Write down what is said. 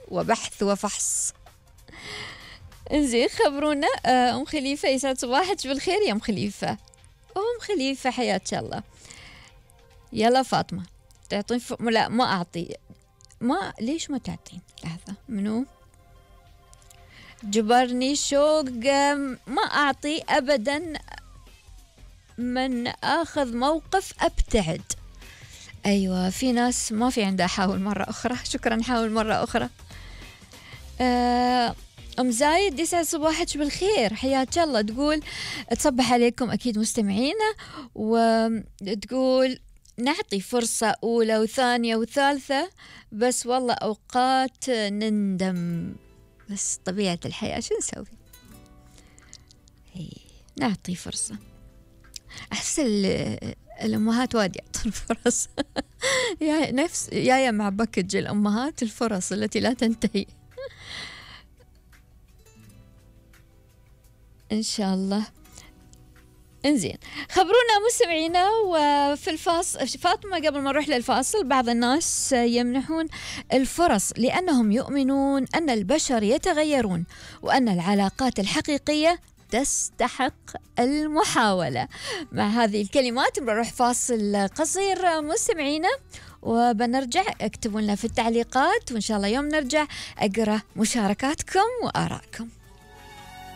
وبحث وفحص. انزين خبرونا. أم خليفة يسعد صباحك بالخير يا أم خليفة. أم خليفة حياك الله. يلا فاطمة تعطين لا ما أعطي. ما ليش ما تعطين؟ لحظة منو جبرني شوق. ما أعطي أبدا، من آخذ موقف أبتعد. أيوة في ناس ما في عندها حاول مرة أخرى. شكرا حاول مرة أخرى. أم زايد يسعد صباحك بالخير حياك الله. تقول تصبح عليكم أكيد مستمعينا، وتقول نعطي فرصة أولى وثانية وثالثة، بس والله أوقات نندم، بس طبيعة الحياة شو نسوي. نعطي فرصة. أحس الأمهات وايد يعطون فرص. نفس يا مع باكج الأمهات، الفرص التي لا تنتهي. إن شاء الله. انزين خبرونا مستمعينا. وفي الفاصل فاطمة قبل ما نروح للفاصل، بعض الناس يمنحون الفرص لأنهم يؤمنون أن البشر يتغيرون وأن العلاقات الحقيقية تستحق المحاولة. مع هذه الكلمات بنروح فاصل قصير مستمعينا، وبنرجع. اكتبوا لنا في التعليقات، وإن شاء الله يوم نرجع أقرأ مشاركاتكم وآرائكم.